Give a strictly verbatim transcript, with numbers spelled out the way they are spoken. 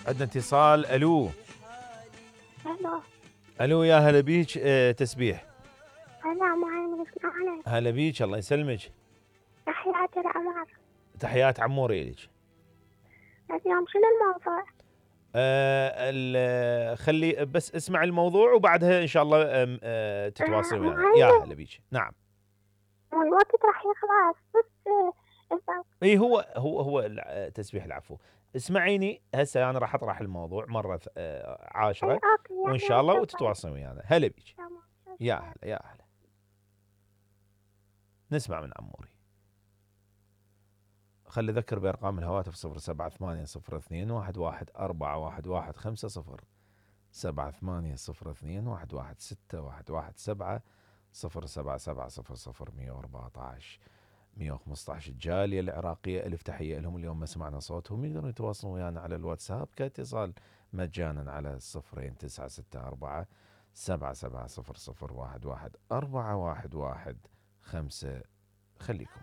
عندنا اتصال. الو الو الو يا هلا بيك. اه تسبيح. هلا معلم اسمعني. هلا بيك الله يسلمك. تحياتي لعمر. تحيات عمور إليك. اليوم شنو الموضوع؟ آه خلي بس اسمع الموضوع وبعدها ان شاء الله آه تتواصل ويانا. معلم يا هلا بيك. نعم الوقت راح يخلص بس إذا اي هو هو هو تسبيح العفو. اسمعيني هسه انا راح اطرح الموضوع مره آه أي عاشره أوكي وان يعني شاء الله شكرا. وتتواصل ويانا. هلا بيك. تمام. يا هلا يا هلا. نسمع من عموري. خلي اذكر بارقام الهواتف صفر سبعة ثمانية صفر اثنين واحد واحد أربعة واحد واحد خمسة صفر سبعة ثمانية صفر اثنين واحد واحد ستة واحد واحد سبعة صفر سبعة سبعة صفر صفر مية وأربعة عشر مية وخمسة عشر. الجالية العراقية ألف تحية لهم. اليوم ما سمعنا صوتهم يقدرون يتواصلون ويانا على الواتساب كاتصال مجانا على صفرين تسعة ستة أربعة سبعة سبعة صفر صفر واحد واحد أربعة واحد واحد خمسة. خليكم.